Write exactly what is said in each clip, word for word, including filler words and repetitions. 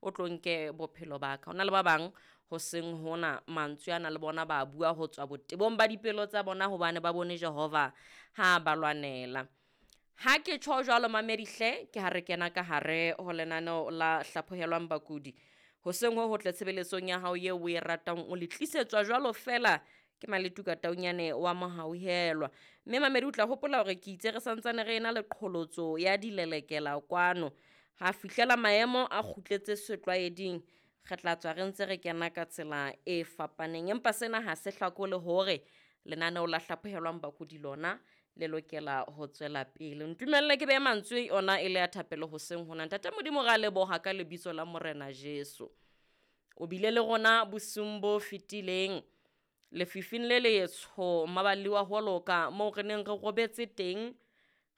o tlo nke bophelo ba ka. Ho na le ba bang hoseng hona mantswe ana le bona ba bua ho tswa botebong ba dipelo tsa bona hobane ba bone Jehova ha ba lwanela. Ha ke tjho jwalo mamedi hle, ke ha re kena ka hare ho lenaneo la hlaphohelwang bakudi. Hoseng ho hotle tshebeletsong ya hao eo o e ratang, o le tlisetswa jwalo feela ke Maletuka Taunyane wa Mohauhelwa. Mme mamedi o tla hopola hore ke itse re santsane re ena le qholotso ya dilelekela kwano. Ha fihlela maemo a kgutletse setlwaeding, re tla tswa re ntse re kena ka tsela e fapaneng. Empa sena ha se hlakole hore lenaneo la hlaphohelwang bakudi lona le lokela ho tswela pele. Ntumelle ke behe mantswe ona e le a thapelo hoseng hona. Ntate Modimo, re a leboha ka lebitso la Morena Jesu. O bile le rona bosiung bo fetileng lefifing le letsho maballi wa ho loka moo re neng re robetse teng,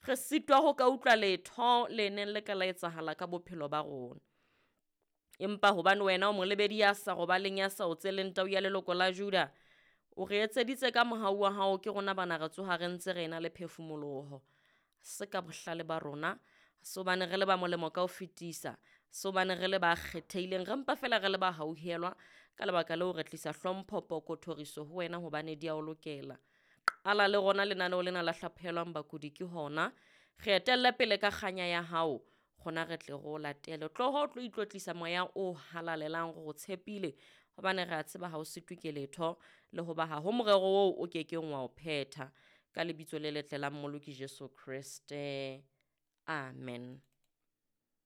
re sitwa ho ka utlwa letho le neng le ka la etsahala ka bophelo ba rona. Empa hobane wena o molebedi ya sa robaleng, ya sa otseleng tau ya leloko la Juda, o re etseditse ka mohau wa hao, ke rona bana re tsoha re ntse re ena le phefumoloho. Se ka bohlale ba rona, se hobane re le ba molemo ka ho fetisa, se hobane re le ba kgethehileng, re mpa feela re le ba hauhelwa. Ka lebaka leo re tlisa hlompho, poko, thoriso ho wena hobane di a o lokela. Qala le rona lenaneo lena la hlaphohelwang bakudi ke hona. Re etelle pele ka kganya ya hao, rona re tle re o latele. Tloho o tlo itlotlisa moya o halalelang, re o tshepile hobane re a tseba ha o sitwe ke letho, le hoba ha ho morero oo o kekeng wa o phetha. Ka lebitso le letle la Mmoloki Jesu Kreste. Amen.